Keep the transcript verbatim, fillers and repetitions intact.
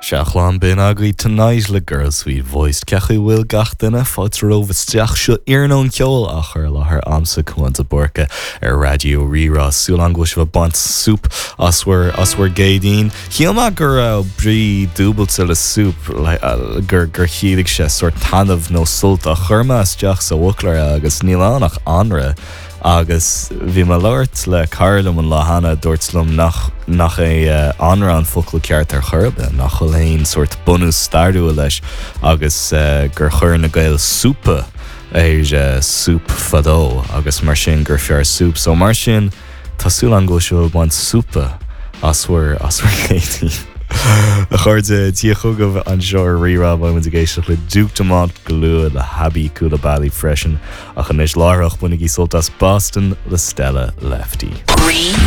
Seachlán bin agaí Tonight le Girl Sweet Voice Cechu bhfuil gach duine fáilte romhaibh isteach seo iarnóin ceoil á chur i láthair agamsa Cuan de Búrca ar Raidió Rí-Rá súil agam go bhfuil sibh ag baint súp as bhur as bhur gCéadaoin. Shíl mé go raibh brí dúbailte le súp gur gur chiallaigh sé sórt taitneamh nó sult ach chuir mé isteach sa bhfoclóir agus níl ann ach anraith. agus bhí mé ag labhairt le cara liom an lá cheana dúirt liom nach nach é uh, anraith an focal ceart ar chor ar bith, nach bhfuil aon sórt bunús stairiúil leis agus uh, gur chuir na Gaeil súpa ar uh, súp fadó agus mar sin gur fearr súp, so mar sin tá súil agam go bhfuil sibh ag baint súpa as bhur as bhur gCéadaoin. A chairde Dia chugaibh anseo ar Rí-Rá beimid ag éisteacht le Duke Dumont go luath le Habi Coulibaly freisin ach anois láithreach bainigí sult as Boston le Stella Lefty. Rí